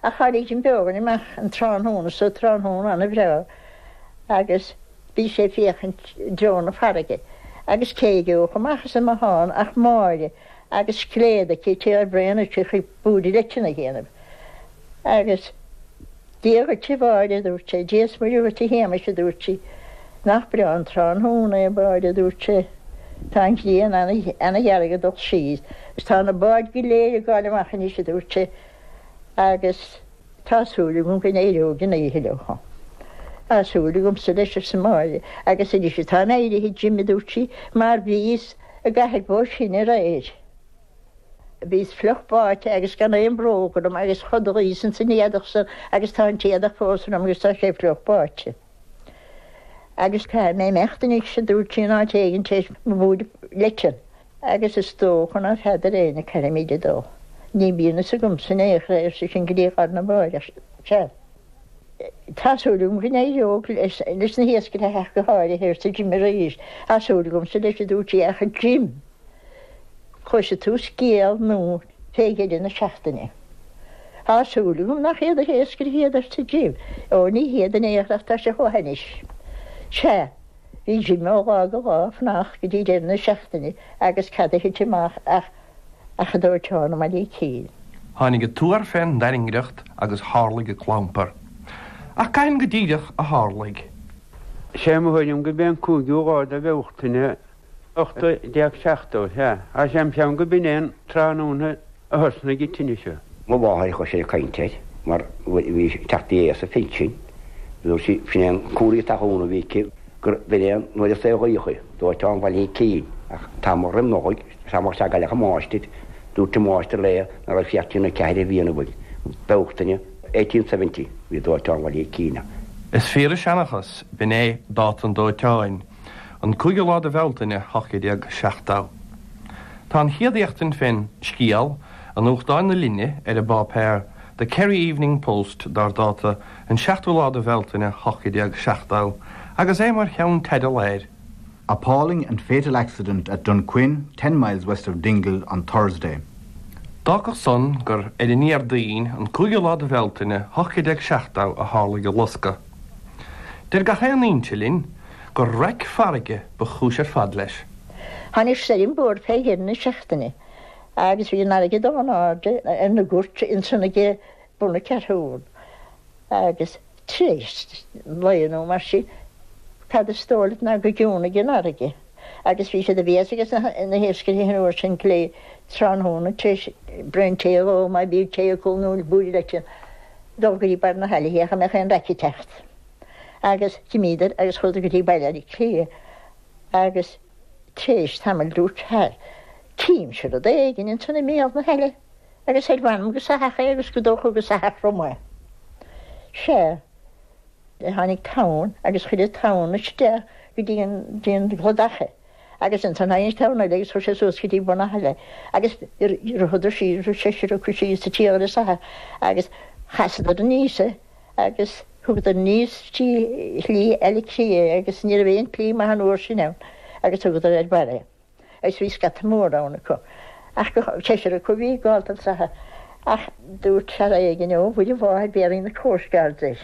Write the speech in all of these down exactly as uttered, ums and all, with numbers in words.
Ach tháinig Jim Beogan amach an tráthnóna so tráthnóna an-bhreá agus bhí sé ag féachaint i dtreo na farraige agus cé a gheobhadh amach as an mbothán ach Máire agus scléad aici ag cur braon uisce chuig búird leitean a dhéanamh. Agus Dia dhuit a Mháire, a dúirt sé, Dia is Muire dhuit a Shéamais, a dúirt sí. Nach breá an tráthnóna é, a Mháire, a dúirt sé. Tá an ghrian ana-dhearg ag dul síos agus tá na báid go léir ag gabháil amach anois, a dúirt sé, agus tá súil agam go n-éireoidh an oíche leo. Tá súil agamsa leis, arsa Máire, agus anois atáim éirithe, Jim, a dúirt sí, mar bhíos i gcathair bó sin aréir. Bhíos fliuch báite agus gan aon bhróg orm agus chodlaíos ins an éadach san agus tá an t-éadach fós orm agus tá sé fliuch báite. Agus caithfidh mé imeacht anois, a dúirt sí in áit éigin tar éis mo bhúird leitean. Agus is dócha ná feadar éinne caithfimid a dó. Ní bhíonn fhios agamsa in aon chor é, ar seisean go dtí lá arna mháireach. Sea. Tá súil agam go n-éireoidh leis na hiascairí ach go háirithe, arsa Jim arís. Tá súil agamsa leis, a dúirt sí, ach a Jim! Cloisfidh tú scéal nua fé dheireadh na seachtaine. Tá súil agam nach iad na hiascairí iad, arsa Jim. Ó, ní hiad in aon chor ach tá sé chomh hainnis. Sea, bhí Jim ó lá go lá ag fanacht go dtí deireadh na seachtaine agus cad a thit amach ach ach an dóiteán i mBaile Icín. Tháinig an tuar fén dtairngreacht agus tharlaigh an clampar. Ach cathain go díreach a tharlaigh? Sé mo thuairim gurb é an cúigiú lá de Bhealtaine ocht déag seachtó, sea. Tá sé im cheann go b'in é an tráthnóna a thosnaigh an tine seo. Mo mháthair a chuir sé ag caint air mar bhí sé ag teacht i éas a phinsin. Dúirt sí, sin é an comhartha talún a bhí aici, gur b'in é an uair a saolaíodh í, dóiteán Bhaile Icín. Ach tamall roim Nollaig, tamall sea gcailleadh an máistir, dúirt an máistir léi nach raibh sí ach trína ceathair a bhliain ó Bealtaine eighteen seventy, bhí dóiteán Bhaile Icín ann. Is fíor an seanchas, b'in é dáta an dóiteáin. An cúigiú lá de Bhealtaine ocht déag seachtó. Tá an chéad éachtaint fén scéal i nuachtán na linne ar an bpáipéar The Kerry Evening Post dar dáta an seachtú lá de Bhealtaine ocht déag seachtó agus é mar cheannteideal air. Appalling and fatal accident at Dunquin, ten miles west of Dingle on Thursday. D'fhágfadh san gur ar an Déardaoin, an cúigiú lá de Bhealtaine, ocht déag seachtó a tharlaigh an loscadh. Deir gach aon fhoinse linn gur raic farraige ba chúis ar fad leis. Tháinig stoirm mhór fé dheireadh na seachtaine agus bhí an fharraige dá n-airde ar na goirt ansan ag bun na Ceathrún agus tar éis lae nó mar sin, cad is dóigh leat ná gur chiúnaigh an fharraige agus bhí sé de bhéas aige na hiascairí an uair sin go léir tráthnóna tar éis braon tae a ól má bhí tae acu nó búird leitean dul go dtí barr na haille féach an mbeadh aon raic ag teacht. Agus d'imíodar agus chuadar go dtí Baile Átha Cliath agus tar éis tamaill dúirt fear, Tchímse rud éigin ansan i mbéal na haille agus ar mh'anam gur soitheach é agus gur dócha gur soitheach rum é. Sea, tháinig tonn agus chuir an tonn isteach go dtí an, dtí an cladach é. Agus ansan tháinig tonn eile agus chuir sé suas go dtí bun na haille agus ritheadar síos, rith seisear acu síos sa tír ar an soitheach agus chasadar aníos é agus thugadar aníos trí shlí Aille Cliath é agus ní raibh aon tslí maith an uair sin ann agus thugadar ar barr é. Agus bhí scata mór ann acu. Ach go, seisear acu a bhí ag gabháil don soitheach. Ach dúirt fear éigin, Ó, Mhuire Mháthair, béarfaidh na Coast Guards air.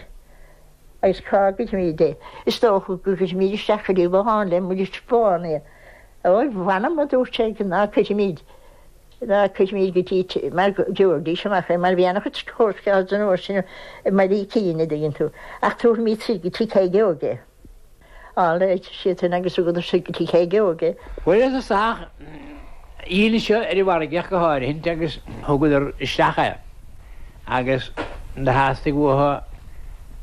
Agus cá gcuirfimid é? Is dócha go gcuirfimid isteach go dtí lochán le muiris bán é. Ó, mh'anam, a dúirt sé, ná cuirfimid, ná cuirfimid go dtí, mar gheobhaidís amach é, mar bhí an-chuid Coast Guards an uair sin i mBaile Icín, a dtuigeann tú. Ach tabharfaimid soir go Tigh Sheoige é. Á, ar siadsan agus thugadar soir go Tigh Sheoige é. Fuarthas an soitheach aoil seo ar an bhfarraige ach go háirithint agus thugadar isteach é agus do theastaigh uathu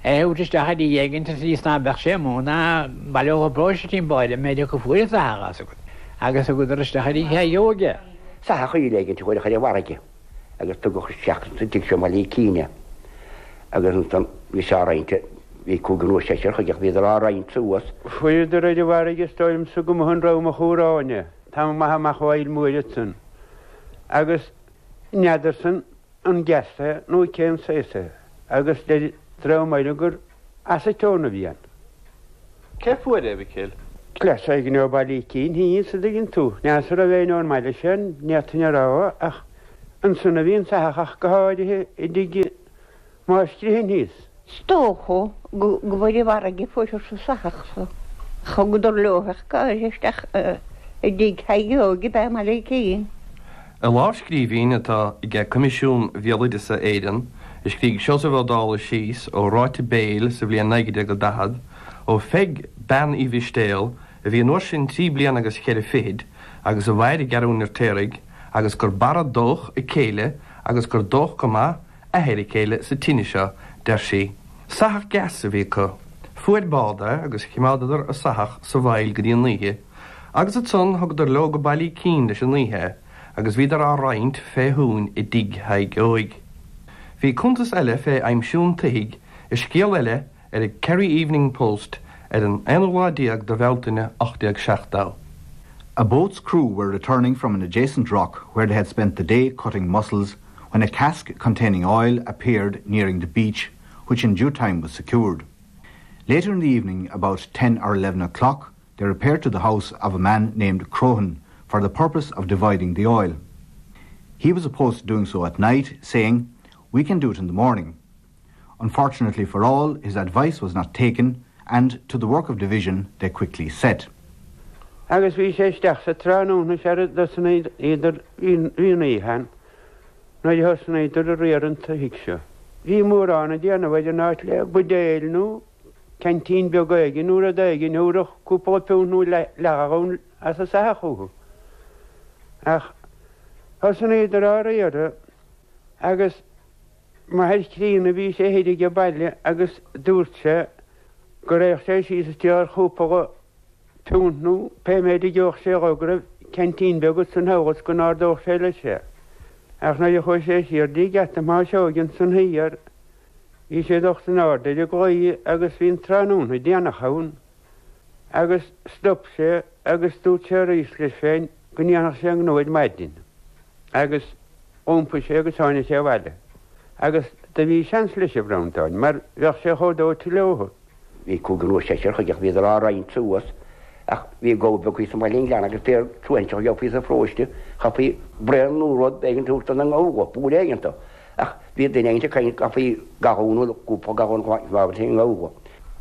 é a thabhairt isteach i dtigh éigint sa tslí is ná beadh sé amuigh ná baileodh an próiste timpeall air an méid acu fuair an soitheach as agat agus thugadar isteach i dtigh Sheoige é. Soitheach aoil éigint a fuaireadh ar an bhfarraige agus tugadh isteach sa tigh seo i mBaile Icín é agus ansan bhí sé á roinnt, bhí cúigear nó seisear chuige ach bhíodar á roinnt suas. Fuaireadar ar an bhfarraige is dóigh liomsa go mba in Ráth Machúráin é, tamall maith amach ó Aill Mhuire ansan agus n'fheadarsan an gas é nó cén saghas é agus deir dream eile gur aceton a bhí ann. Cé fuair é, a Mhicil? Cleas éigin ó Bhaile Icín thíos, a dtuigeann tú. N'fheadar an raibh éinne ón mbaile sin, ní fhéadfainn a rá, ach ansan a bhí an soitheach ach go háirithe i dtigh Má scríonn thíos. Is dócha go bhfuil i bhfarraige fuair sa sathach so. Thugadar leo isteach i dtigh Thaidhg Óig be mar cín. I lámhscríbhinn atá ag Coimisiún Bhéaloideasa Éireann, a scrígh Seosamh Ó Dálaigh síos ó ráite béil sa bhliain naoi déag daichead, ó Pheig bean Uí Mhistéal, a bhí an uair sin trí bliana agus ceithre fichid, agus a mhair i gCeathrú an Fheirtéaraigh, agus gur bara dóch a céile agus gur dóch go maith athair a céile sa tine seo, deir sí. Sathach deas a bhí acu. Fuair bád é agus choimeádadar a sathach sa bhfaill go dtí an oíche, agus ansan thugadar leo go Baile Uí Cinn leis an oíche, agus bhíodar á roinnt fé shuan i dtigh Thaidhg Óig. Bhí cuntas eile fé aimsiú an tsoithigh i scéal eile ar an Kerry Evening Post ar an aonú lá déag de Bhealtaine ocht déag seachtó. A boat's crew were returning from an adjacent rock where they had spent the day cutting mussels when a cask containing oil appeared nearing the beach, which in due time was secured. Later in the evening, about ten or eleven o'clock, they repaired to the house of a man named Crohan for the purpose of dividing the oil. He was opposed to doing so at night, saying, We can do it in the morning. Unfortunately for all, his advice was not taken, and to the work of division they quickly set. Agus bhí sé isteach sa tráthnóna sé idir bhíon nuair thosnaíodar a riar an tsoithigh seo. Bhí mórán ag déanamh ar an áit le buidéal nó ceaintín beag éigin nó rud éigin nó cúpla punt nó leathghallún as a soitheach chucu. Ach thosnaíodar á riar agus m'athair críonna bhí sé thoir ag baile agus dúirt sé go raibh sé síos isteach cúpla punt nó pé méid a gheobhadh sé go raibh ceaintín beag san thall go n-ardódh sé leis sé. Ach nuair a chuaigh sé siar dtí geata Mháiseoig san thiar, bhí sé docht in airde ar an gclaí agus bhí an tráthnóna déanach ann, agus stop sé agus dúirt sé arís leis féin go ndéanfadh sé an gnó ar maidin. Agus iompaigh sé agus tháinig sé abhaile. Agus do bhí seans leis an Bhreandáin, mar bheadh sé chomh dóite leo. Bhí cúigear nó seisear chuige bhíodar á roinnt suas ach bhí gabha beag thíos sa mBaile an Ghleanna agus pé tuainte gheofaí sa pharóiste chaithfí braon nó rud éigin tabhairt don ngabha, buaile éigin Ach bhí duine éigin ag caint chaithfí gallún nó cúpla gallún an ngabha.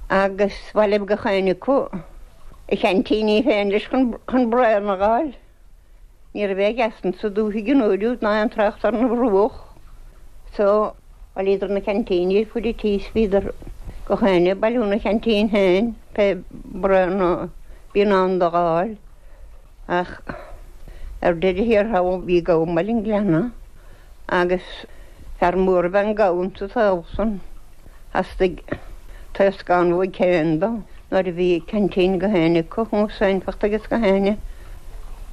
Agus bhailigh gach éinne acu a cheaintíní féin leis chun braon a fháil. Ní raibh aon gheasan sa dúthaigh an uair úd ná aon trácht ar na bhruach. So bhailíodar na ceaintíní fud an tí bhíodar gach éinne ag bailiú na ceaintín féin pé braon a bhí in ann do fháil. Ach ar deireadh thiar thall bhí gabha i mBaile an Ghleanna agus fear mór a bheith an gabha sa saol san. Theastaigh taoscán uaidh féin dó nuair a bhí ceaintín gach éinne acu seinfeacht agus gach éinne.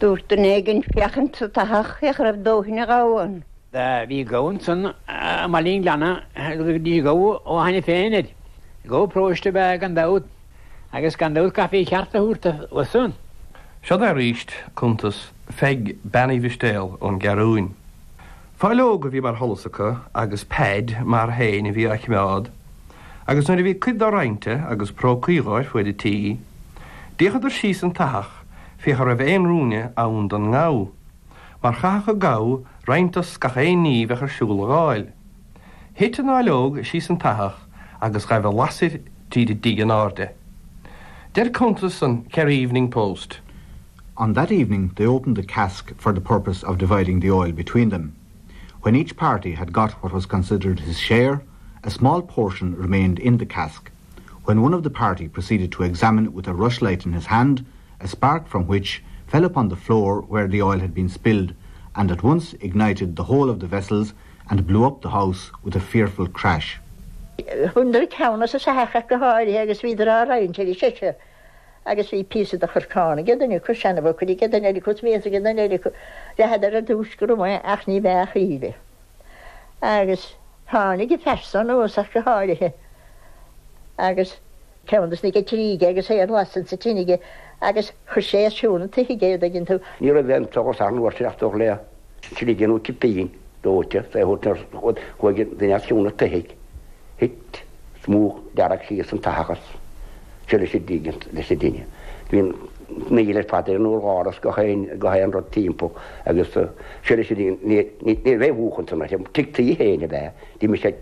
Dúirt duine éigin féachaint sa tathach féach raibh dóthain a ghabha ann. Bhí gabha ansan i mBaile an Ghleanna dí gabha ó cheana féin air. Gabha paróiste be gan dabht agus gan dabht chaithfí ceart a thabhairt dósan. Seo arís cuntas Pheig bean Uí Mhistéal ón gCeathrúin. Fáileog a bhí mar sholas acu agus Peaid mar fhéin a bhí á choimeád, agus nuair a bhí cuid dó roinnte agus prócaí dhóibh fuaid a tí, d'fhéachadar síos an tathach féach raibh aon ruainne ann don ngabha, mar chaithfeadh an gabha roinnt as gach aon ní bheadh ar siúl a fháil. Thit an fháileog síos an tathach agus ghaibh a lasair tríd an dtigh in airde. Deir cuntas an Kerry Evening Post. On that evening they opened the cask for the purpose of dividing the oil between them. When each party had got what was considered his share, a small portion remained in the cask. When one of the party proceeded to examine with a rushlight in his hand, a spark from which fell upon the floor where the oil had been spilled, and at once ignited the whole of the vessels and blew up the house with a fearful crash. Bhaineadar ceann as an soitheach go háirithe agus bhíodar á roinnt ar seisear. Agus bhí píosa de chorcán aige duine acu seanabhacairí aige duine eile acu sméas aige duine eile acu leathadar ar dtús go raibh ach ní bheadh íle. Agus tháinig an fear san anuas ach go háirithe. Agus ceann des na geitrí aige agus é ar lasadh sa tine aige agus chuir sé ar siúl an tsoithigh é dtuigeann tú. Ní raibh aon tsolas an uair sin ach dóch le slige nó cipín dóite sé chuaigh duine as cionn an tsoithigh. Thit smúch dearg síos an tathach seo leis an leis an dtine. Bhí níl ar fad ar an urlár gach aon gach aon rud timpeall agus seo leis ní ní bheith bhuachan san tigh tí féin a bheith, Dí sé